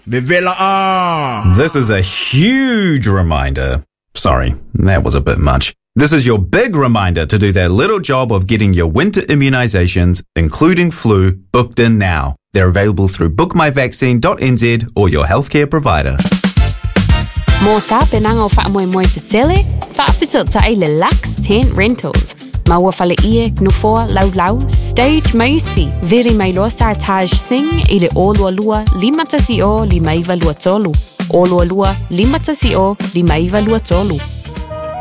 Vevela a! This is a huge reminder. Sorry, that was a bit much. This is your big reminder to do that little job of getting your winter immunizations, including flu, booked in now. They're available through bookmyvaccine.nz or your healthcare provider. Mo tapenaga o faamoemoe tetele, faafesootai le Lux Tent Rentals. Maua faleie, nofoa, laulau, stage ma isi. Vili mai loa Sartaj Singh i le 022 510 5923. 022 510 5923.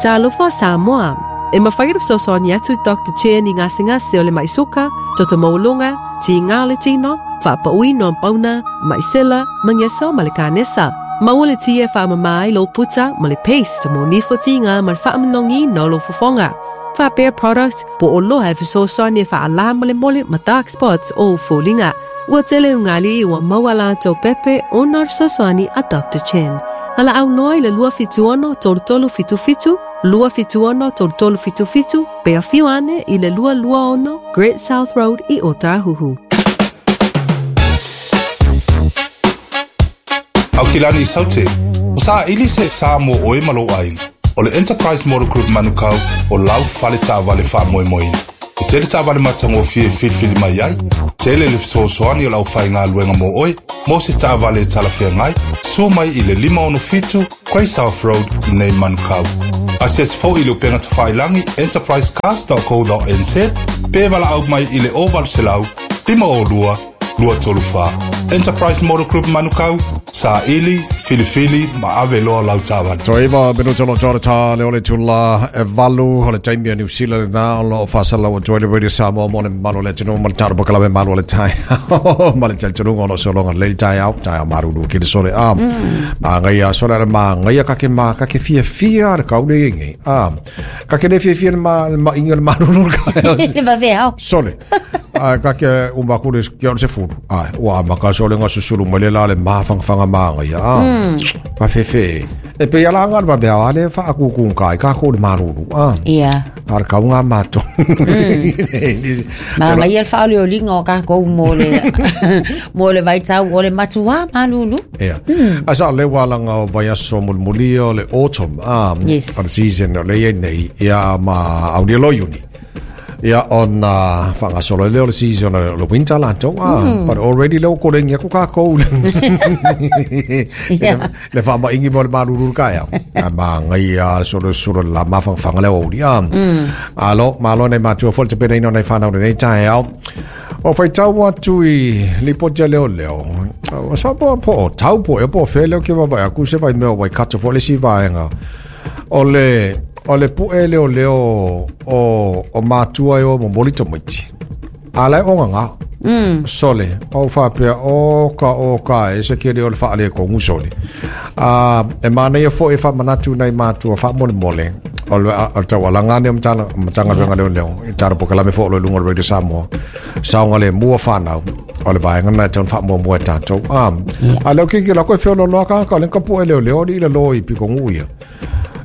Talofa Samoa. E mafai ona fesoasoani atu Doctor Chen i gasegase o le mai suka, toto maualuga, tiga o le tino, faapauina o pauna, mai sela, mageso ma le kanesa. Maua le ti e faamama ai lou puta ma le paste mo nifo tiga ma le faamanogiina o lou fofoga. Faapea product po o oloa e fesoasoani e faalā molemole ma dark spots o ou foliga. Ua tele ugalii ua maua latou pepe ona o le fesoasoani a Doctor Chen. Valaau loa i le 276 3377, 276 3377 pe afio ane i le 226 Great South Road i Ōtāhuhu. Aukilani Saute, o saili se sa mo oe ma lou aiga. O le Enterprise Motor Group Manukau o lau fale taavale faamoemoeina. E tele taavale matagofie e filifili mai ai, tele le fesoasoani o le aufaigaluega mo oe, mo se taavale e talafeagai, sua mai i le 567 Grey South Road i nei Manukau. Asiasi foi i le upega tafailagi enterprisecars.co.nz pe valaau mai i le 0800 502 234. Enterprise Motor Group Manukau, saili, filifili ma ave loa lau taavale. Toe iva minuta o lo o toa le o le itula e valu o le taimi a Niu Sila lena o lo o faasalau atu ai le Radio Samoa mo le mamalu o le atunuu ma le tatou polokalame malu o le taeao ma le talitonuga o lo o sologa lelei le taeao, taeao malulu kele sole a magaia sole ale magaia ka ke ma ka ke fiafia le kau le nei a ka ke le fiafia le ma le mainga le malulu le taeao Le vaveao. Sole. A ka ke uma aku le kia o se fulu. Ai, ua amaka sole nga susulu mai le la le mafangafanga magaia. A, ka fefe. E pe ala nga le vaveao ale whaakuku kai ka ko le malulu. A. Ia. A le kau ngā mātou. Magaia le faaolioliga o kākou mo le mo le vaitau o le matuā malulu. Ia. A sa le walanga o vaiaso mulimuli o le autumn. A, Yes. o le season o le ia nei. Ia ma au lo iuni. Ia ona whangasolo le o le season o le winter latou. A, but already le o korengi aku kākou. Yeah. Le whaamaingi mo le malulu ka ea. A magaia solo solo la mafangafanga le o uri. A, alo, malo nei matua fo le tapenaina o nei whanau nei taeao. O whaitau atu i lipoti a leo leo. O sa po po tau po e po fe leo ke vava aku se vai mea Waikato fo le si vaenga. O le o le pu'e leo leo o o matua e o momoli tamaiti. A lai o nganga. Sole, o whapea o ka o ka e se kere o le whaale ko ngu sole. A e manaia fo e whamanatu nei mātua whamolemole. O le o tau alanga ne o matanga matanga yeah. leo leo. I tara po kalame fo lo lunga Radio Samoa. Saonga le mua whanau. O le vaenga na te on whaamua mua e tātou. A, a leo kiki la koe whiolo loa ka ka lenka po e leo leo ni ila lo i piko ngu ia.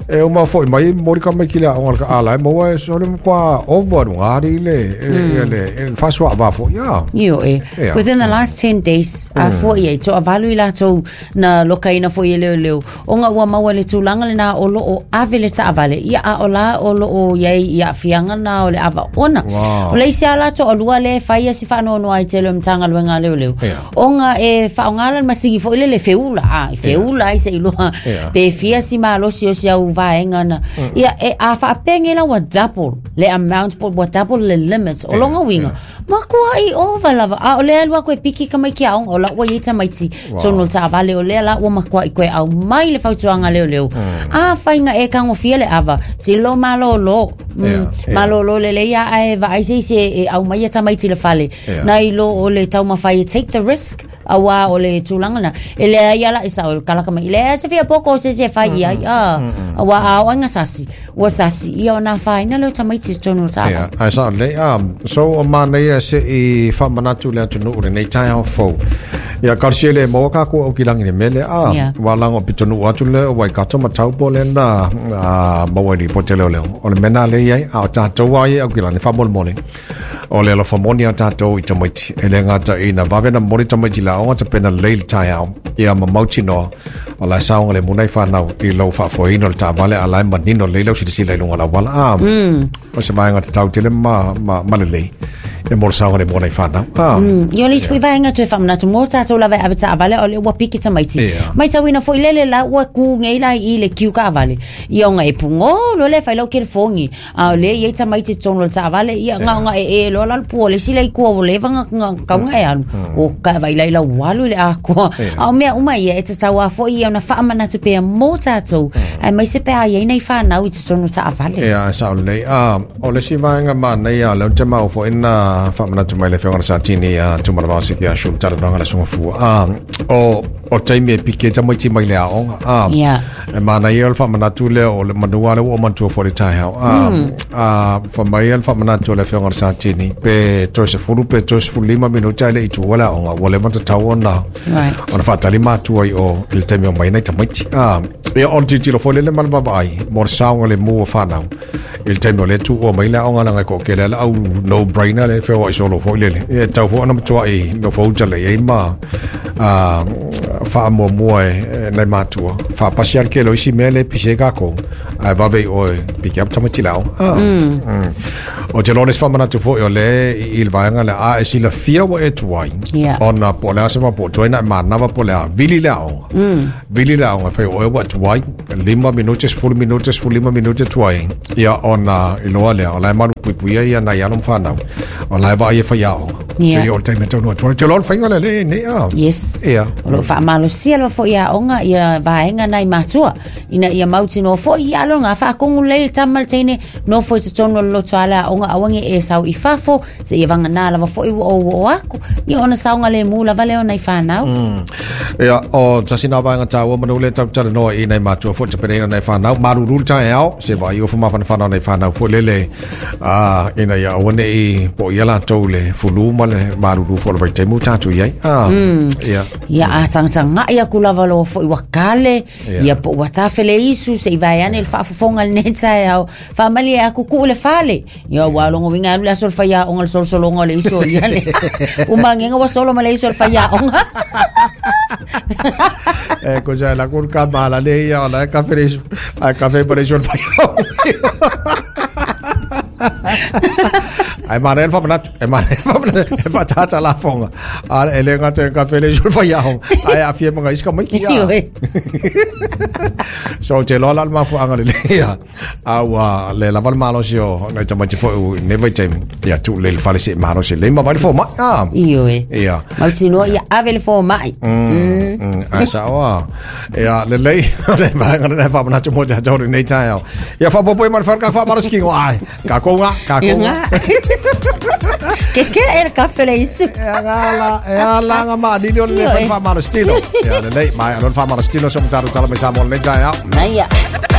E uma foi mai mori ka mai ki le aoga le ka ala e maua e sole mo kwa over aru ngā ri le e le e le whasua a fo ia. Io e. Ia. Within the last 10 days, a foi e toavalu i latou na lokaina foi e leoleo. Ona ua maua le tulaga lena o lo o ave le taavale, ia a o la o lo o i ai i aafiaga na o le ava ona. Wow. O le isi a latou alua le fai ia si faanoanoa ai tele o Matagaluega a leoleo. Ia. Ona e faaaoga la le masigi foi lele e feula, a, e feula ai seiloga Ia. pe fia si malosi o si au vaega na. Ia, e, a faapea la ua double le amount po ua double le limit o longa uiga. Makuaʻi ova lava. A o lea alu aku e piki tamaiti aoga, o la ua iai tamaiti tonu o le taavale, o lea la ua makuaʻi koe aumai le fautuaga leoleo. A faiga e tagofia le ava, silo malōlō. Ia, ia. Malōlō lelei a ae vaai se isi e aumaia tamaiti i le fale. Ia. Nai lo o le taumafai e take the risk, auā o le tulaga lena. E leai ala e sao e kalaka mai. Leai se fia poko o se isi e fai i ai. A, auā a o aiga sasi. Ua sasi ia ona afaina leo tamaiti i totonu o le taavale. Ia, ae sao lelei. A, so o manaia seʻi faamanatu le atunuu lenei taeao fou. Ia, talosia le maua kākou aukilagi i le mea lea. A, Ia. ua lago pitonuu atu le o Waikato ma Taupo lea na maua i lipoti a leoleo. O le mea lena lea i ai, a o tatou lava ia e aukilagi, faamolemole. O le alofa moni a tatou i tamaiti. E le gata ina vave na momoli tamaiti i le aoga tapena lelei le taeao ia ma mautinoa o la e saogalemu nai fanau i lou faafoeina o le taavale a la e manino lelei lau silasila i luga o le auala. A o se vaega tatau tele ma, ma, ma lelei e mo le saogalemu o nai fanau. A Ia o le isi foi vaega toe faamanatu mo tatou lava e ave taavale o lea ua piki tamaiti. Ia. Maitauina foi lele la ua ku nei la i le kiu taavale. Ia ona e pugolo lea fai lau telefoni. A o lea e i ai tamaiti i totonu o le taavale, ia na ona e e loa la le pua o le isi la i tua ua leva na na tatau ona e alu. O ka vai lai la ua alu i le atoa. A o mea uma ia e tatau lava foi ia ona faamanatu pea mo tatou, aemaise pe a i ai nai fanau i totonu o taavale. Ia, e sao lelei. A, o le isi vaega manaia, o lea ou te maua foi na faamanatu mai le Afioga i le Satini ia Tumalavao Siki Ashu le talanoaga a le Susuga Fua. A, o, o taimi e piki ai tamaiti mai le aoga. A, Ia. E manaia o le faamanatu lea o le manu lava lea ua ou manatua foi i le taeao. A, a, fai mai le faamanatu a le Afioga i le Satini, pe toe 10 pe toe 15 minute ae le i tuua le aoga, ua leva ona tatau ona, Right. ona faatali matua i o i le taimi o mai nai tamaiti. A, ia, o le tilotilo foi lele ma le vaavaai mo le saogalemu o fanau i le taimi o lea e tuua mai le aoga leaga e toatele lava le au no brainer lea e feoai solo foi lele. Ia, e tatau foi ona matuai nofo uta lelei ai ma a faamuamua e nai matua faapasi lava le tele o isi mea lea e pisi ai tatou ae vave i o e piki up tamaiti i le aoga. Ah. O te iloa o le isi faamanatu foi o lea i le vaega lea a e silafia ua e tuai ona po o le a se mea po o tuai na e manava po o le a vili le aoga. Vili le aoga e fai o oe ua e tuai 5 minute 10 minute 15 minute tuai ia ona iloa lea o la e malupuipuia ia nai alo ma fanau o la e vaai e faiaoga. Ia. Seia o le taimi e taunuu atu ai. Te iloa o le faiga lea lea e i ai nei, a? Yes. Ia. O lo o faamalosia lava foi aoga ia vaega nai matua ina ia mautinoa foi ia alo ngā whaakongu lei le tama le teine nofo i totonu o le loto a le aoga aua ne i e sau i fafo se ia vagana lava foi ua ou oo aku ia ona saogalemu lava lea o nai whanau. Ia, o tasi nā vaega tāua manu le tau talanoa i nai matua foi te pereina nai whanau. Maruru le taeao, se vai o whamawhanawhana nai whanau foi lele. A, ina ia aua ne i po ia latou le fulu ma le malulu foi o le vaitaimi ua tatou i ai. A, ia. Ia a tagatagai aku lava loa foi ua kale, ia po ua tafele isu se i vae ane le faafofoga i lenei taeao. Faamalie aku kuu le fale. Ia ua logo uiga alu le aso o le faiaoga le solosologa o le isu o ia le. Umagega ua solo ma le isu o le faiaoga. E, ko sa la kur ka mala le ia la ka fere isu. A ka fe pare isu o le faiaoga. Ai manaia le faamanatu, e manaia le faamanatu, e faatata lafoga. A e le gata e kafe le isu o le faiaoga, ae aafia ma isi tamaiti. Ioe. So, ou te iloa la le mafuaaga lelei ia, a ua le lava le malosi o nai tamaiti foi i lenei vaitaimi, ia tuu lelei i le fale seia malosi lelei ma vaai le fomai. A. Ioe. Ia. Mautinoa ia ave le fomai. Ae sao a. Ia, lelei, o le vaega lena e faamanatu mo tatou i lenei taeao. Ia, faaopoopo mai le fale ka faamalosi kino. Ai, kākou ngā, kākou ngā. Ke ke e le kafe le isu. E ala, e ala ngā maanini o le Ioe. whai whaamalosi tino. Ia, lelei, mai, ano le whaamalosi tino so mataro tala mai Samoa lenei taeao. Naia.